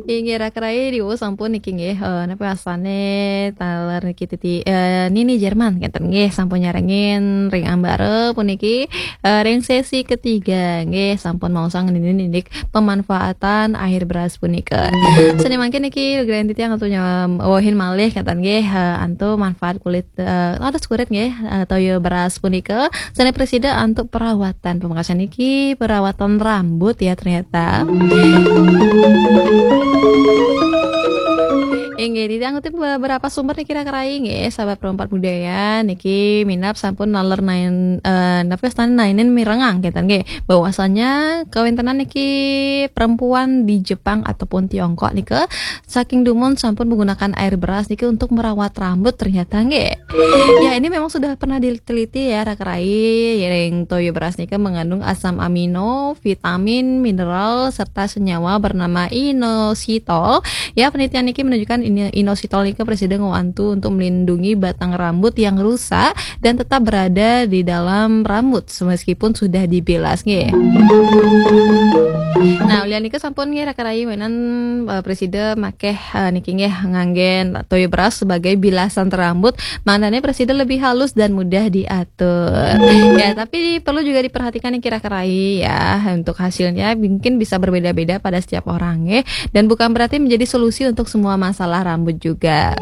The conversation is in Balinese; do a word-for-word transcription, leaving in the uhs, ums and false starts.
Inggih, raka rai, diwu sampun niki nggih, eh, napa wasane taler niki titi, eh, Nini Jerman kenten nggih, sampun nyarengin ring ambara puniki, eh, ring sesi ketiga nggih, sampun maosang nini ninik pemanfaatan air beras punika. Sane mangkin niki lugrayan titiang untuk nyawehin malih kenten nggih, eh, antuk manfaat kulit, eh, atus kulit nggih, eh, toya beras punika. Sane presida antuk perawatan. Pamekasan niki perawatan rambut ya ternyata. Inggih, titiang ngutip beberapa sumber niki raka rai nggih, sahabat Pro empat Budaya niki minab sampun naler nain, eh, napa wastane nainin mirengang kenten nggih, bahwasanya kawentenan niki perempuan di Jepang ataupun Tiongkok nika saking dumun sampun menggunakan air beras niki untuk merawat rambut ternyata nggih. Ya, ini memang sudah pernah diteliti ya, raka rai, ring toya beras nika mengandung asam amino, vitamin, mineral, serta senyawa bernama inositol. Ya, penelitian niki menunjukkan ini, inositol nika presida ngwantu untuk melindungi batang rambut yang rusak dan tetap berada di dalam rambut meskipun sudah dibilas nggih. Nah, ulian nika sampun nggih raka rai, wenan, eh, presida makeh, eh, niki nggih nganggen toya beras sebagai bilasan rambut, mangdane presida lebih halus dan mudah diatur. Ya, tapi perlu juga diperhatikan niki raka rai ya, untuk hasilnya mungkin bisa berbeda-beda pada setiap orang nggih, dan bukan berarti menjadi solusi untuk semua masalah rambut juga.